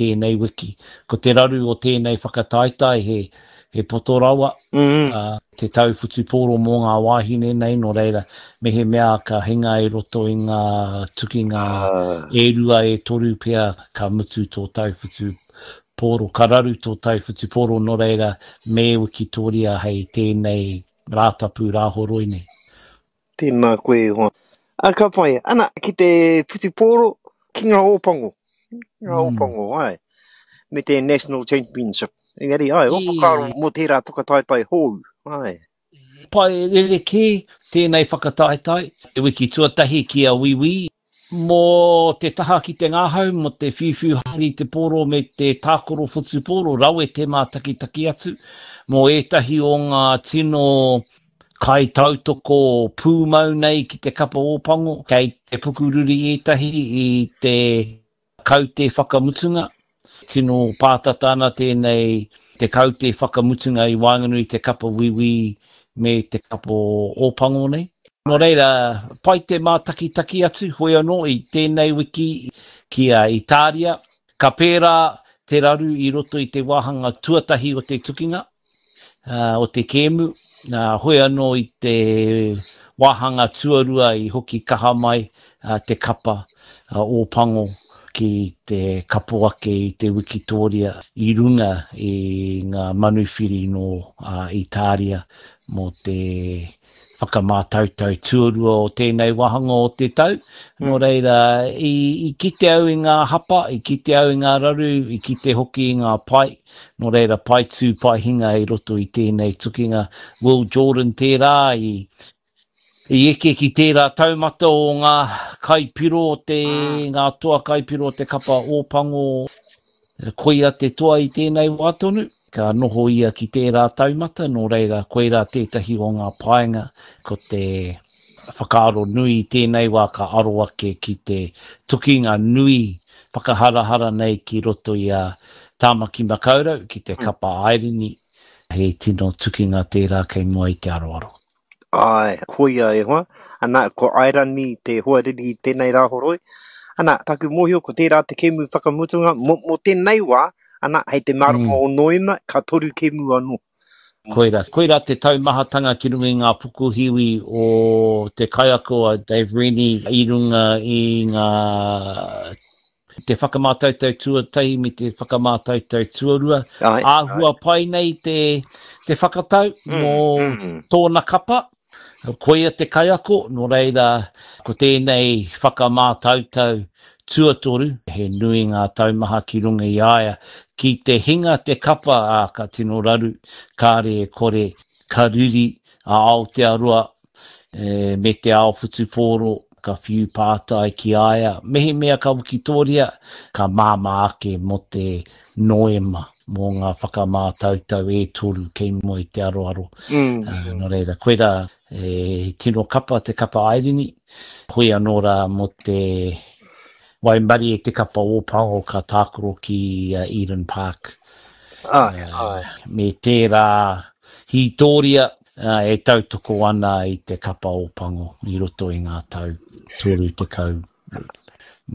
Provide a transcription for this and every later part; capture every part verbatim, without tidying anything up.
tēnei wiki. Ko te raru o tēnei whakataetae he, he poto rawa, mm -hmm. uh, te tau whutupōro mō ngā wāhine nei, nō reira, mehemea ka hinga i roto i ngā tukinga uh. e rua e toru pea ka mutu tō tau whutupōro, ka raru tō tau whutupōro, nō reira, me wikitoria hei tēnei Rātapu Rāhoroi nei. Tēnā koe e hoa. A, ka pai. Ana, ki te whutupōro, ki ngā Ōpango. Ngā Mm. Ōpango, ai. Me te National Championship. Engari, ai, o whakaaro E, mō tērā whakataetae hou. Ai. pai rerekē tēnei whakataetae. Te wiki tuatahi ki a Wīwī, mō te taha ki te ngahau, mō te whiuwhiu haere i te pōro me te tākaro whutupōro, rawe te mātakitaki atu, mō ētahi o ngā tino kaitautoko pūmau nei ki te kapa Ōpango, kei te pukuriri ētahi i te kaute whakamutunga. Tino pātata ana tēnei te kaute whakamutunga i waenganui i te kapa Wīwī me te kapa Ōpango nei. Nō reira, pai te mātakitaki atu, hoi anō i tēnei wiki ki a Itāria. Ka pērā te raru i roto i te wāhanga tuatahi o te tukinga, uh, o te kēmu. Uh, hoi anō i te wāhanga tuarua i hoki kaha mai uh, te kapa uh, Ōpango ki te kapo ake i te wikitoria i runga i ngā manuwhiri nō uh, Itāria mō te whakamātautau tuarua o tēnei wāhanga o te tau. Nō reira, i, i kite au i ngā hapa, i kite au i ngā raru, i kite hoki i ngā pai. Nō reira, pai tū, pai hinga i roto i tēnei tukinga. Will Jordan tērā i, i eke ki tērā taumata o ngā kaipiro o te, ngā toa kaipiro o te kapa Ōpango. Koia te toa i tēnei wā tonu, ka noho ia ki tērā taumata, nō reira, koirā tētahi o ngā painga, ko te whakaaro nui i tēnei wā ka aro ake ki te tukinga nui whakaharahara nei ki roto i a Tāmaki Makaurau, ki te kapa Airini, he tino tukinga tērā kei mua i te aroaro. Ai, koia e hoa. Ana, ko Airani te hoariri i tēnei Rāhoroi. Ana, taku mōhio ko tērā te kēmu whakamutunga mō, mō tēnei wā, ana, hei te marama Mm. o Noema, ka toru kēmu anō. Koirā, koirā te taumahatanga ki runga i ngā pukuhiwi o te kaiako a Dave Rennie i runga i ngā te whakamātautau tuatahi me te whakamātautau tuarua. Ai, ai. Āhua pai nei te, te whakatau Mm, mō mm. tōna kapa. Koia te kaiako, nō reira, ko tēnei whakamātautau tuatoru, he nui ngā taumaha ki runga i a ia. Ki te hinga te kapa, ā, ka tino raru, kāre e kore, ka riri a Aotearoa e, me te ao whutupōro, ka whiu pātai ki a ia. Mehemea ka wikitoria, ka māmā ake mō te Noema, mō ngā whakamātautau e toru kei mua i te aroaro. Mm. Uh, nō reira, koirā e tino kapa te kapa Airini, hoi anō rā mō te waimarie te kapa Ōpango ka tākaro ki uh, Eden Park. Ai, Uh, ai. me tērā hītōria uh, e tautoko ana i te kapa Ōpango i roto i ngā tau toru tekau.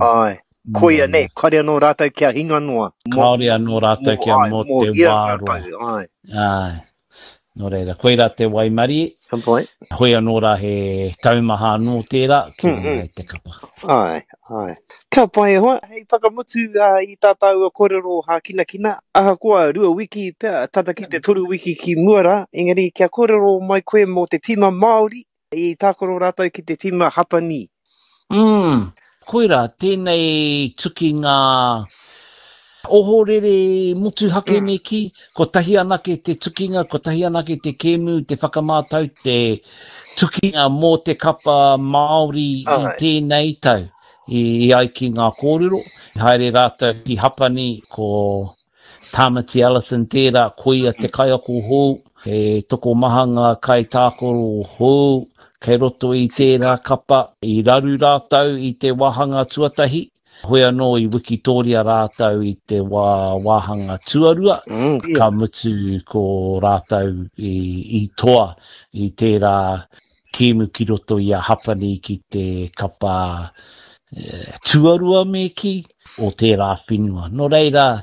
Ai. Koia Mō nei, kāore anō rātou kia hinga noa. Mō, Kāore anō rātou mō, kia ai, mō mō te hia wā ngā roa. tau, ai. Ai. Nō reira, koirā te waimarie. Ka pai. Hoi anō rā he taumaha anō tērā ki Mm, runga mm. i te kapa. Ai, ai. Ka pai e hoa, hei whakamutu uh, i tā tāua kōrero hākinakina. Ahakoa rua wiki pea, tata ki te toru wiki ki mua rā, engari kia kōrero mai koe mō te tīma Māori i tākaro rātou ki te tīma Hapani. Mm. Koirā, tēnei tukinga ohorere motuhake Mm. me kī, kotahi anake te tukinga, kotahi anake te kēmu, te whakamātau, te tukinga mō te kapa Māori i Ai. tēnei tau. I, i ai ki ngā kōrero, haere rātou ki Hapani, ko Tamati Ellison tērā, koia te kaiako hou, he tokomaha ngā kaitākaro hou, kei roto i tērā kapa, i raru rātou i te wāhanga tuatahi, hoi anō i wikitoria rātou i te wā, wāhanga tuarua, Mm, yeah. ka mutu ko rātou i, i toa i tērā kēmu ki roto i a Hapani ki te kapa eh, tuarua me kī o tērā whenua. Nō reira,